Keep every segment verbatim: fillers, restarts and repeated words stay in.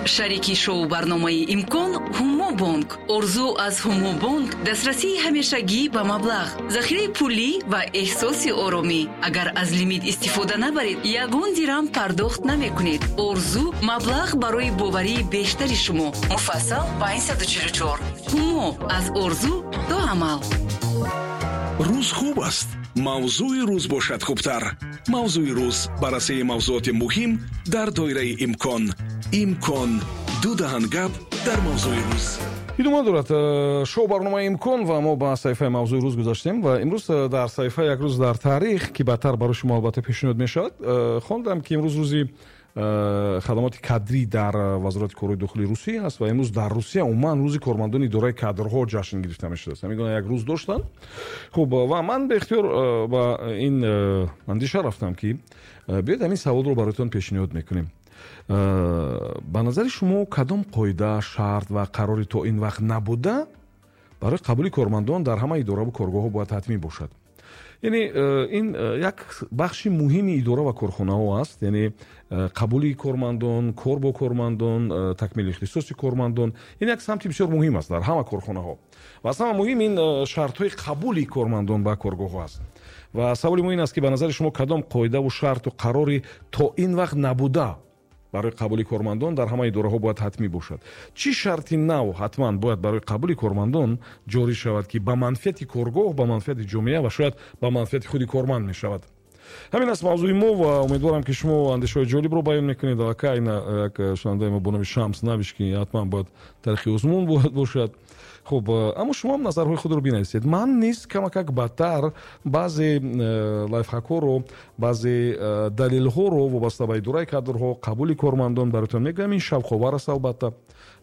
Шарики шоу барномаи «Имкон» Ҳумобонк. Орзу аз Ҳумобонк дастрасии ҳамешагӣ ба маблағ, захираи пулӣ ва эҳсоси оромӣ. Агар аз лимит истифода набаред, ягон дирам пардохт намекунед. Орзу маблағ барои боварии бештари шумо. Муфассал панҷсаду чилу чор. Ҳумо: аз орзу то амал. Рӯз хуб аст, мавзӯи рӯз бошад хубтар. «Мавзӯи рӯз», баррасии мавзӯоти муҳим дар доираи имкон. «Имкон» — ду даҳан гап дар мавзӯи рӯз. Идома дорад э, шоу барномаи «Имкон» ва мо ба саҳифаи «Мавзӯи рӯз» гузаштем. Ва имрӯз э, дар саҳифаи «Як рӯз дар таърих», ки баъдтар барои шумо албатта пешниҳод мешавад, э, хондам, ки имрӯз рӯзи хадамоти кадрӣ дар Вазорати корҳои дохилии Русия аст ва имрӯз дар Русия умуман рӯзи кормандони идораи кадрҳо ҷашн гирифта мешудааст. Ҳамин гуна як рӯз доштанд. Хуб, ва ман беихтиёр ба ин андеша рафтам, ки биёед, ҳамин саволро бароятон пешниҳод мекунем: ба назари шумо, кадом қоида, шарт ва қарори то ин вақт набуда барои қабули кормандон дар ҳама идораву коргоҳҳо бояд ҳатмӣ бошад? Яъне э, ин э, як бахши муҳими идора ва корхонаҳо аст, яъне э, қабули кормандон, кор бо кормандон, такмили ихтисоси кормандон. Ин як самти бисёр муҳим аст дар ҳама корхонаҳо ва аз ҳама муҳим ин шартҳои қабули кормандон ба коргоҳҳо аст. Ва саволи мо ин аст, ки ба назари шумо, кадом қоидаву шарту қарори то ин вақт набуда барои қабули кормандон дар ҳама идораҳо бояд ҳатмӣ бошад? Чӣ шарти нав ҳатман бояд барои қабули кормандон ҷорӣ шавад, ки ба манфиати коргоҳ, ба манфиати ҷомеа ва шояд ба манфиати худи корманд мешавад? Ҳамин аст мавзӯи мо ва умедворам, ки шумо андешаҳои ҷолибро баён мекунед. Аллакай як шунавандаи мо бо номи Шамс навишт, ки ҳатман бояд таърихи озмун бояд бошад. Хуб, аммо шумо ҳам назарҳои худро бинависед. Ман низ камакак баъдтар баъзе э, лайфхакҳоро, баъзе э, далелҳоро вобаста ба идораи кадрҳо, қабули кормандон бароятон мегӯям. Ин шавқовар аст албатта,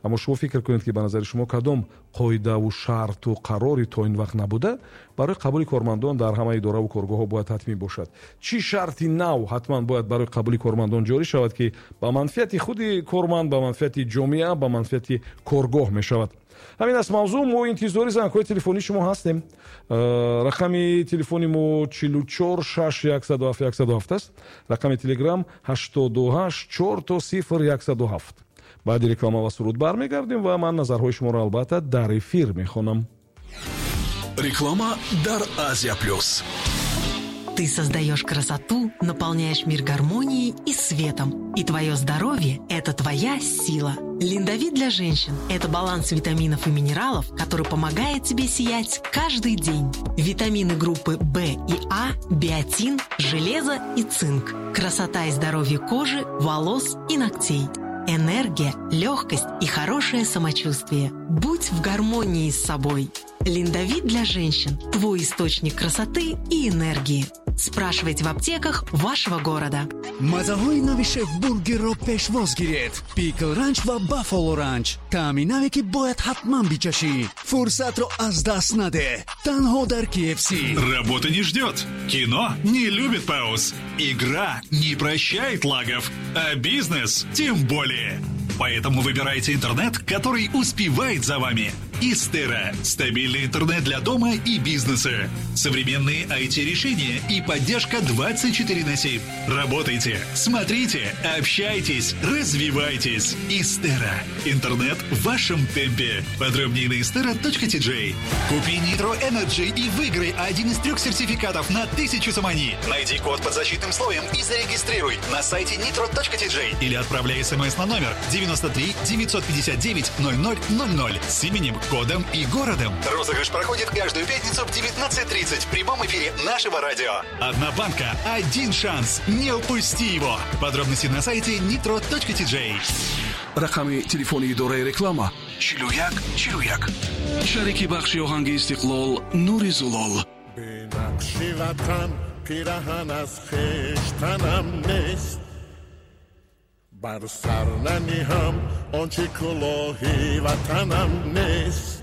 аммо шумо фикр кунед, ки ба назари шумо, кадом қоидаву шарту қарори то ин вақт набуда барои қабули кормандон дар ҳама идораву коргоҳҳо бояд ҳатмӣ бошад? Чӣ шарти нав ҳатман бояд барои қабули кормандон ҷорӣ шавад, ки ба манфиати худи корманд, ба манфиати ҷомеа, ба манфиати коргоҳ мешавад? Ҳамин аст мавзӯъ. Мо интизори зангҳои телефонии шумо ҳастем. э, рақами телефони мо чилу чор шаш яксаду ҳафт яксаду ҳафт аст. Рақами Телеграм ҳаштоду ҳашт чор то сифр яксаду ҳафт. Баъди реклама ва суруд бармегардем ва ман назарҳои шуморо албатта дар эфир мехонам. Реклама дар Азия Плюс. Ты создаешь красоту, наполняешь мир гармонией и светом. И твое здоровье – это твоя сила. Линдовит для женщин – это баланс витаминов и минералов, который помогает тебе сиять каждый день. Витамины группы В и А, биотин, железо и цинк. Красота и здоровье кожи, волос и ногтей. Энергия, легкость и хорошее самочувствие. Будь в гармонии с собой. Линдовит для женщин – твой источник красоты и энергии. Спрашивайте в аптеках вашего города. Мазаҳои нави Шеф Бургерро пешвоз гиред: Пикл Ранч ва Баффало Ранч, таъми наве, ки бояд ҳатман бичашӣ. Фурсатро аз даст наде, танҳо дар K F C. Работа не ждет, кино не любит пауз, игра не прощает лагов, а бизнес тем более. Поэтому выбирайте интернет, который успевает за вами. Истера. Стабильный интернет для дома и бизнеса. Современные I T-решения и поддержка двадцать четыре на семь. Работайте, смотрите, общайтесь, развивайтесь. Истера. Интернет в вашем темпе. Подробнее на istera точка T J. Купи Nitro Energy и выиграй один из трех сертификатов на тысячу сомони. Найди код под защитным слоем и зарегистрируй на сайте nitro точка T J или отправляй смс на номер девяносто три девятьсот пятьдесят девять ноль ноль ноль ноль с именем, кодом и городом. Розыгрыш проходит каждую пятницу в девятнадцать тридцать в прямом эфире нашего радио. Одна банка, один шанс. Не упусти его. Подробности на сайте nitro точка T J. Рақами телефони идораи реклама чилу як чилу як. Шарики бахши оҳанги «Истиқлол» Нури Зулол. Бенақши ватан пираҳан аз хештанам нест, бар сар наниҳам он чи кулоҳи ватанам нест.